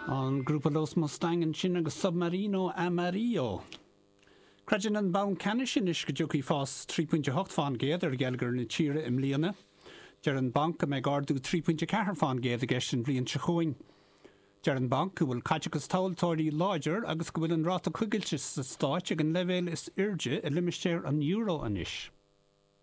An grúpa Los Mustang ansin agus Submarino Amarillo. Creideann an Banc Ceannais anois go dtiocfaidh fás 3.8 fán gcéad ar gheilleagar na tíre i mbliana. Deir an Banc go mbeidh ardú 3.4 fán gcéad i gceist an bhliain seo chugainn. Deir an Banc go bhfuil caiteachas tomhaltóirí láidir agus go bhfuil an ráta coigiltis sa Stáit ag an leibhéal is airde i limistéar an euro anois.